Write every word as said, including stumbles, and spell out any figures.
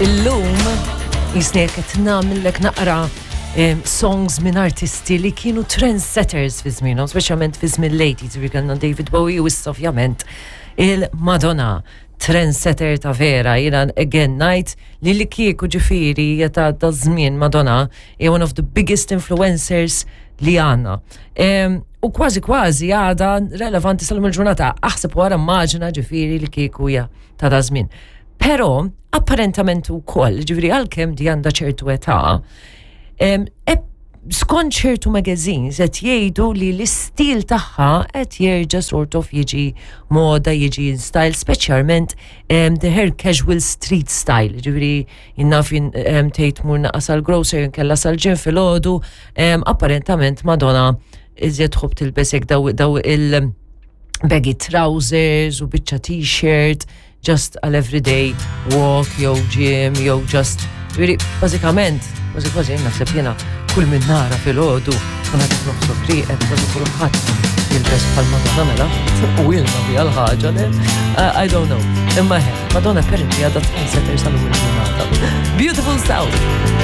Illum jisni qed nagħmillek naqra em, songs minn artisti li kienu trendsetters fi żmienhom, speċjalment fi żmien l-eighties, ġifieri kellna David Bowie u issa ovvjament il-Madonna, trendsetter ta' vera. Jiena again ngħid li li kieku ġifieri ta' ta' żmien Madonna hija one of the biggest influencers li għandna. Em, U kważi kważi għada relevanti sal il-ġurnata, aħseb wara, immaġina ġifieri li kieku hija ta' da żmien. Però, apparentament ukoll, ġifieri għalkemm di għandha ċertu età, em, e- skont ċertu magazines qed jgħidu li l-istil tagħha qed jerġa' sort of jiġi moda, jiġi in style, speċjalment um, the her casual street style. Ġifieri jinnaf jien um, tgħid mur naqas għal grocer nkella sal-gym filgħodu, um, apparentament Madonna iżjed tħobb tilbes hekk daw, daw il baggy trousers u biċċa T-shirt just għal everyday walk jew gym jew just, ġifieri bażikament, kważi kważi jien naħseb jiena kull min nara filgħodu kun għad nofsu rieqed, kważi kulħadd jilbes bħal Madonna mela u ilna biha l-ħaġa le. Uh, I don't know. Imma he, Madonna apparently għadha trendsetter sal-lum il-ġurnata. Beautiful South.